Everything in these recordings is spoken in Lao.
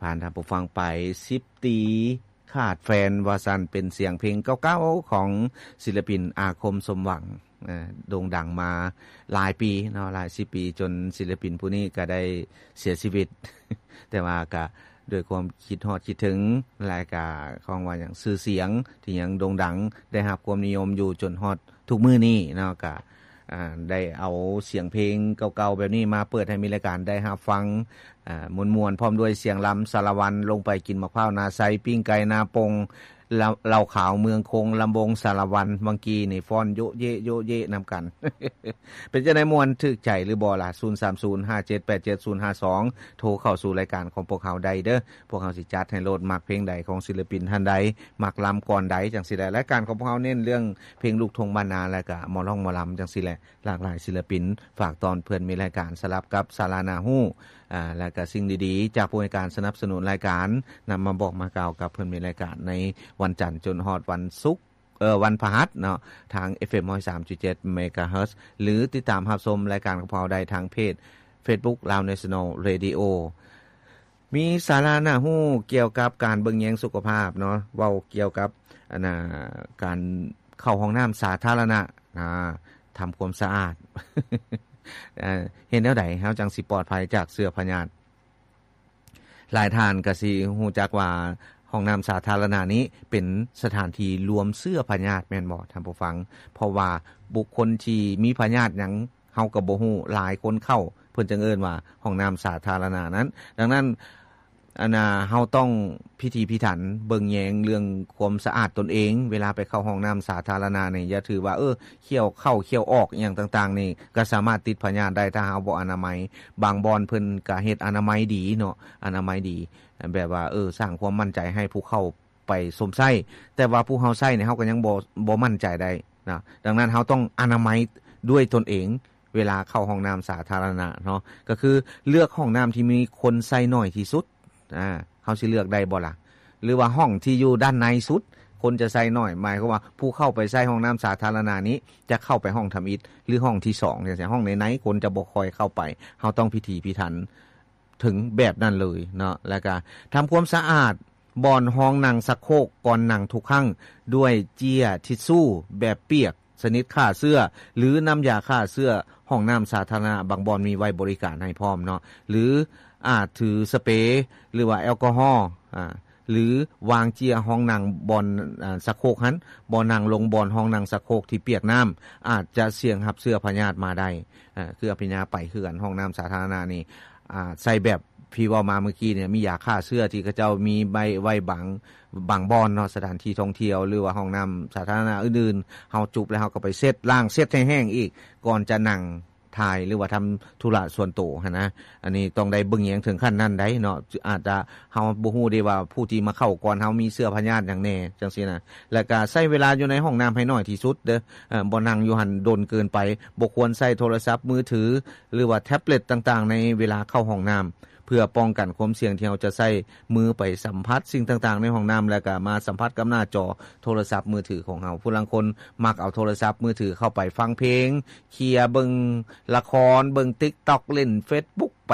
ຜ່ານທ່ານຜູ້ຟັງໄປ ສິບປີຂາດແຟນ ວ່າຊັ້ນ ເປັນສຽງເພງເກົ່າໆຂອງສິລະປິນອາຄົມ ສົມຫວັງ ເອີ່ ໂດ່ງດັງມາຫຼາຍປີເນາະ ຫຼາຍສິບປີ ຈົນສິລະປິນຜູ້ນີ້ກໍໄດ້ເສຍຊີວິດ ແຕ່ວ່າກະດ້ວຍຄວາມຄິດຮອດຄິດເຖິງ ແລະກະ ເຂົາເອີ້ນວ່າຫຍັງ ຊື່ສຽງທີ່ຍັງໂດ່ງດັງ ໄດ້ຮັບຄວາມນິຍົມຢູ່ຈົນຮອດທຸກມື້ນີ້ເນາະ ກະ ອ່າ ໄດ້ເອົາສຽງເພງເກົ່າໆແບບນີ້ມາເປີດໃຫ້ມີລາຍການໄດ້ຮັບຟັງ ອ່າ ມ່ວນໆ ພ້ອມດ້ວຍສຽງລຳສາລະວັນ ລົງໄປກິນໝາກພ້າວນາໄຊ ປີ້ງໄກ່ນາປົງ ເຫຼົ້າ ເຫຼົ້າຂາວເມືອງຄົງ ລຳວົງສາລະວັນ ວັງກີນີ້ຟ້ອນໂຢະເຢະໂຢະເຢະນຳກັນ ເປັນຈັ່ງໃດ ມ່ວນຖືກໃຈຫຼືບໍ່ລະ? ສູນສາມສູນ ຫ້າເຈັດແປດເຈັດສູນຫ້າສອງ ໂທເຂົ້າສູ່ລາຍການຂອງພວກເຮົາໄດ້ເດີ້ ພວກເຮົາຊິຈັດໃຫ້ໂລດ ມັກເພງໃດຂອງສິລະປິນທ່ານໃດ ມັກລຳກ່ອນໃດ ຈັ່ງຊີ້ແຫຼະ. ລາຍການຂອງພວກເຮົາເນັ້ນເລື່ອງເພງລູກທົ່ງບ້ານນາ ແລະກະໝໍຮ້ອງໝໍລຳ ຈັ່ງຊີ້ແຫຼະ ຫຼາກຫຼາຍສິລະປິນ ຝາກຕ້ອນເພື່ອນມີລາຍການ ສະຫຼັບກັບສາລະໜ້າຮູ້ ອ່າ ແລະກະສິ່ງດີໆ ຈາກຜູ້ໃຫ້ການສະໜັບສະໜູນລາຍການ ນຳມາບອກມາກ່າວກັບເພື່ອນມີລາຍການ ໃນວັນຈັນຈົນຮອດວັນສຸກ ເອີ ວັນພະຫັດເນາະ ທາງ ເອັຟເອັມຮ້ອຍສາມຈຸດເຈັດເມກາເຮີດ ຫຼື ຕິດຕາມຮັບຊົມລາຍການຂອງພວກເຮົາໄດ້ທາງເພຈ Facebook Lao National Radio ມີສາລະໜ້າຮູ້ກ່ຽວກັບການເບິ່ງແຍງສຸຂະພາບເນາະ ເວົ້າກ່ຽວກັບ ອັນນ່າ ການເຂົ້າຫ້ອງນ້ຳສາທາລະນະ ອ່າ ທຳຄວາມສະອາດ ເອີ່ ເຮັດແນວໃດເຮົາຈັ່ງຊິປອດໄພຈາກເຊື້ອພະຍາດ? ຫຼາຍທ່ານກໍຊິຮູ້ຈັກວ່າ ຫ້ອງນ້ຳສາທາລະນະນີ້ເປັນສະຖານທີ່ລວມເຊື້ອພະຍາດແມ່ນບໍ່ທ່ານຜູ້ຟັງ? ເພາະວ່າບຸກຄົນທີ່ມີພະຍາດຫຍັງ ເຮົາກໍບໍ່ຮູ້ ຫຼາຍຄົນເຂົ້າ ເພິ່ນຈຶ່ງເອີ້ນວ່າຫ້ອງນ້ຳສາທາລະນະນັ້ນ. ດັ່ງນັ້ນ ອັນນ່າ ເຮົາຕ້ອງພິຖີພິຖັນເບິ່ງແຍງເລື່ອງຄວາມສະອາດຕົນເອງ ເວລາໄປເຂົ້າຫ້ອງນ້ຳສາທາລະນະນີ້ ຢ່າຖືວ່າ ເອີ ຂ້ຽວເຂົ້າຂ້ຽວອອກອີ່ຫຍັງຕ່າງໆນີ້ ກໍສາມາດຕິດພະຍາດໄດ້ ຖ້າເຮົາບໍ່ອະນາໄມ. ບາງບ່ອນເພິ່ນກໍເຮັດອະນາໄມດີເນາະ ອະນາໄມດີ ແບບວ່າ ເອີ ສ້າງຄວາມໝັ້ນໃຈໃຫ້ຜູ້ເຂົ້າໄປຊົມໃຊ້ ແຕ່ວ່າຜູ້ເຮົາໃຊ້ນີ້ ເຮົາກໍຍັງບໍ່ ບໍ່ໝັ້ນໃຈໄດ້ນະ. ດັ່ງນັ້ນ ເຮົາຕ້ອງອະນາໄມດ້ວຍຕົນເອງ ເວລາເຂົ້າຫ້ອງນ້ຳສາທາລະນະເນາະ ກໍຄືເລືອກຫ້ອງນ້ຳທີ່ມີຄົນໃຊ້ໜ້ອຍທີ່ສຸດ. ອາ ເຮົາຊິເລືອກໄດ້ບໍ່ລະ? ຫຼືວ່າຫ້ອງທີ່ຢູ່ດ້ານໃນສຸດ ຄົນຈະໃຊ້ໜ້ອຍ ໝາຍຄວາມວ່າຜູ້ເຂົ້າໄປໃຊ້ຫ້ອງນ້ຳສາທາລະນະນີ້ ຈະເຂົ້າໄປຫ້ອງທຳອິດ ຫຼືຫ້ອງທີສອງ ຈັ່ງຊີ້ ຫ້ອງໃນໆ ຄົນຈະບໍ່ຄ່ອຍເຂົ້າໄປ. ເຮົາຕ້ອງພິຖີພິຖັນເຖິງແບບນັ້ນເລີຍເນາະ. ແລ້ວກະທຳຄວາມສະອາດບ່ອນຮອງນັ່ງຊັກໂຄກກ່ອນນັ່ງທຸກຄັ້ງ ດ້ວຍເຈ້ຍທິດຊູແບບປຽກ ຊະນິດຂ້າເຊື້ອ ຫຼື ນ້ຳຢາຂ້າເຊື້ອຫ້ອງນ້ຳສາທາລະນະ ບາງບ່ອນມີໄວ້ບໍລິການໃຫ້ພ້ອມເນາະ ຫຼື ອາດຖືສະເປ ຫຼືວ່າແອລກໍຮໍ ອາ ຫຼື ວາງເຈ້ຍຮອງນັ່ງບ່ອນ ອາ ຊັກໂຄກຫັ້ນ ບໍ່ນັ່ງລົງບ່ອນຮອງນັ່ງຊັກໂຄກທີ່ປຽກນ້ຳ ອາດຈະສ່ຽງຮັບເຊື້ອພະຍາດມາໄດ້. ອາ ຄືອາພິນຍາໄປຄືກັນ ຫ້ອງນ້ຳສາທາລະນະນີ້ ອາ ໃຊ້ແບບທີ່ເວົ້າມາເມື່ອກີ້ນີ້ ມີຢາຂ້າເຊື້ອທີ່ເຂົາເຈົ້າມີໄວ້ ໄວ້ບາງ ບາງບ່ອນເນາະ ສະຖານທີ່ທ່ອງທ່ຽວ ຫຼືວ່າຫ້ອງນ້ຳສາທາລະນະອື່ນໆ ເຮົາຈຸບແລ້ວເຮົາກໍໄປເຊັດ ລ້າງເຊັດໃຫ້ແຫ້ງອີກ ກ່ອນຈະນັ່ງຖ່າຍ ຫຼືວ່າທຳທຸລະສ່ວນໂຕຫັ້ນນະ. ອັນນີ້ຕ້ອງໄດ້ເບິ່ງແຍງເຖິງຂັ້ນນັ້ນໄດ໋ເນາະ ອາດຈະ ເຮົາບໍ່ຮູ້ເດ້ວ່າຜູ້ທີ່ມາເຂົ້າກ່ອນເຮົາມີເຊື້ອພະຍາດຫຍັງແດ່ ຈັ່ງຊີ້ນະ. ແລ້ວກະໃຊ້ເວລາຢູ່ໃນຫ້ອງນ້ຳໃຫ້ໜ້ອຍທີ່ສຸດເດີ້ ເອີ ບໍ່ນັ່ງຢູ່ຫັ້ນດົນເກີນໄປ ບໍ່ຄວນໃຊ້ໂທລະສັບມືຖື ຫຼືວ່າແທັບເລັດຕ່າງໆ ໃນເວລາເຂົ້າຫ້ອງນ້ຳ ເພື່ອປ້ອງກັນຄວາມສ່ຽງທີ່ເຮົາຈະໃຊ້ມືໄປສຳຜັດສິ່ງຕ່າງໆໃນຫ້ອງນ້ຳ ແລ້ວກໍມາສຳຜັດກັບໜ້າຈໍໂທລະສັບມືຖືຂອງເຮົາ. ຜູ້ລາງຄົນມັກເອົາໂທລະສັບມືຖືເຂົ້າໄປຟັງເພງ, ເຄຍເບິ່ງລະຄອນ, ເບິ່ງຕິກຕັອກ, ຫຼິ້ນເຟສບຸກໄປ,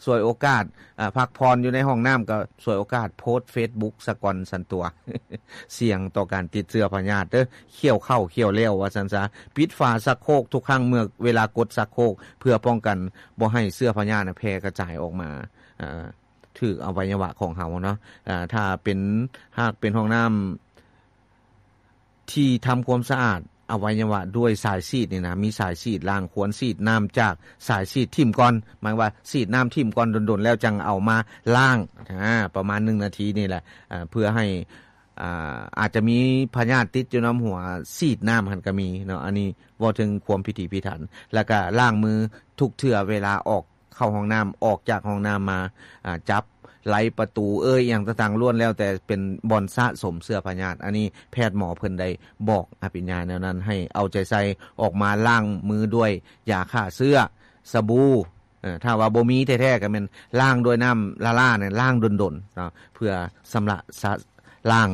ສວຍໂອກາດ ອາ ພັກຜ່ອນຢູ່ໃນຫ້ອງນ້ຳກໍສວຍໂອກາດໂພສເຟສບຸກສາກ່ອນຊັ້ນຕົວະ. ສ່ຽງຕໍ່ການຕິດເຊື້ອພະຍາດເດີ້ ຂ້ຽວເຂົ້າຂ້ຽວແລ້ວວ່າຊັ້ນຊະ. ປິດຝາຊັກໂຄກທຸກຄັ້ງເມື່ອເວລາກົດຊັກໂຄກ ເພື່ອປ້ອງກັນບໍ່ໃຫ້ເຊື້ອພະຍາດນະແຜ່ກະຈາຍອອກມາ ເອີ ຖືກອະໄວຍະວະຂອງເຮົາເນາະ. ເອີ ຖ້າເປັນ ຫາກເປັນຫ້ອງນ້ຳທີ່ທຳຄວາມສະອາດອະໄວຍະວະດ້ວຍສາຍສີດນີ້ນະ ມີສາຍສີດລ້າງ ຄວນສີດນ້ຳຈາກສາຍສີດຖິ້ມກ່ອນ. ໝາຍວ່າສີດນ້ຳຖິ້ມກ່ອນດົນໆ ແລ້ວຈັ່ງເອົາມາລ້າງ ອາ ປະມານໜຶ່ງນາທີນີ້ແຫຼະ ເອີ ເພື່ອໃຫ້ ອາ ອາດຈະມີພະຍາດຕິດຢູ່ນຳຫົວສີດນ້ຳຫັ້ນກໍມີເນາະ. ອັນນີ້ເວົ້າເຖິງຄວາມພິຖີພິຖັນ ແລ້ວກະລ້າງມືທຸກເທື່ອເວລາອອກເຂົ້າຫ້ອງນ້ຳ ອອກຈາກຫ້ອງນ້ຳມາ ອາ ຈັບໄລປະຕູເອີຍ ອີ່ຫຍັງຕ່າງໆ ລ້ວນແລ້ວແຕ່ເປັນບ່ອນສະສົມເຊື້ອພະຍາດ. ອັນນີ້ແພດໝໍເພິ່ນໄດ້ບອກອະພິນຍາແນວນັ້ນ ໃຫ້ເອົາໃຈໃສ່ ອອກມາລ້າງມືດ້ວຍຢາຂ້າເຊື້ອ ສະບູ ເອີ ຖ້າວ່າບໍ່ມີແທ້ໆ ກໍແມ່ນລ້າງດ້ວຍນ້ຳລ້າໆ ນັ້ນ ລ້າງດົນໆ ເນາະ ເພື່ອຊຳລະສະ ລ້າງ